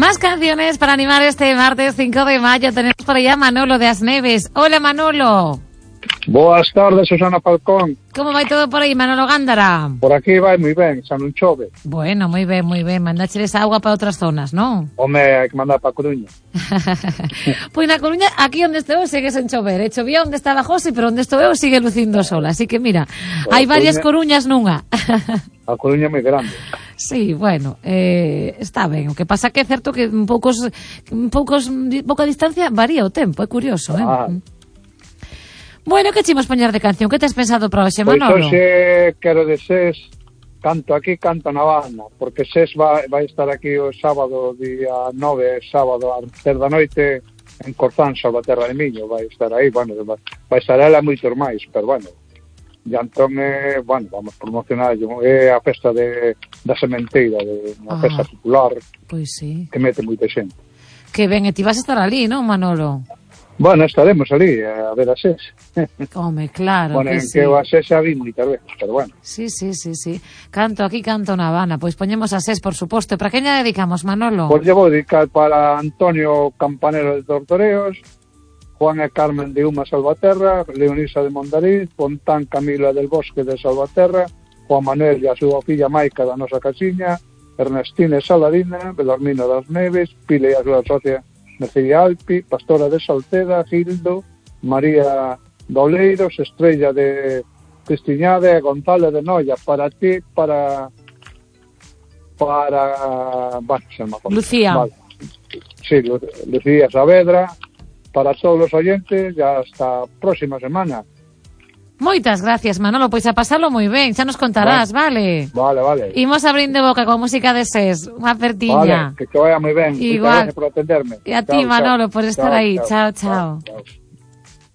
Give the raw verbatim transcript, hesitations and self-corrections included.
Más canciones para animar este martes cinco de mayo. Tenemos por allá a Manolo de Asneves. Hola, Manolo. Boas tardes, Susana Falcón. Como vai todo por aí, Manolo Gándara? Por aquí vai moi ben, xa non chove. Bueno, moi ben, moi ben. Mandácheles agua para outras zonas, non? Home, hai que mandar para a Coruña. Pois na Coruña, aquí onde estou eu, segue sen chover. E chovía onde estaba José, pero onde estou eu sigue lucindo sola. Así que mira, Pues hai varias Coruña... Coruñas nunha. A Coruña é moi grande. Sí, bueno, eh, está ben. O que pasa que é certo que en poucos, en poucos, pouca distancia varía o tempo. É curioso, eh? Ah. Bueno, que chimos poñer de canción? Que tes pensado para hoxe, Manolo? Pois hoxe quero de SES, canto aquí, canto na Habana, porque SES vai, vai estar aquí o sábado, día nove, sábado, a ter da noite, en Corzán, Salvaterra de Miño, vai estar aí, bueno, vai estar ela moitos máis, pero bueno, e entón, eh, bueno, vamos promocionar, é a festa de, da sementeira, de, unha ah, festa popular, pois sí, que mete moita xente. Que ben, e ti vas a estar ali, non, Manolo? Bueno, estaremos ali a ver a SES. Home, claro bueno, que en sí. que o a SES xa vi moitas veces, pero bueno. Sí, sí, sí, sí. Canto aquí, canto na Habana. Pois poñemos a SES, por suposto. Para que lle dedicamos, Manolo? Pois lle vou dedicar para Antonio Campanero de Tortoreos, Juan e Carmen de Uma Salvaterra, Leonisa de Mondariz, Fontán Camila del Bosque de Salvaterra, Juan Manuel e a súa filla Maica da nosa casiña, Ernestine Saladina, Belarmino das Neves, Pile e a súa socia Mecería Alpi, Pastora de Salceda, Gildo, María Doleiros, Estrella de Cristiñade, Gonzalo de Noia, para ti, para para bueno, se me acuerdo. Lucía. Vale. Sí, Lu Lucía Saavedra, para todos os oyentes, ya hasta a próxima semana. Moitas gracias, Manolo, pois a pasalo moi ben, xa nos contarás, vale? Vale, vale. Imos abrindo boca con música de SES, unha apertiña. Vale, que te vaya moi ben. Igual. Por atenderme. E a ti, chao, Manolo, chao. por estar chao, aí. Chao, chao. chao. chao.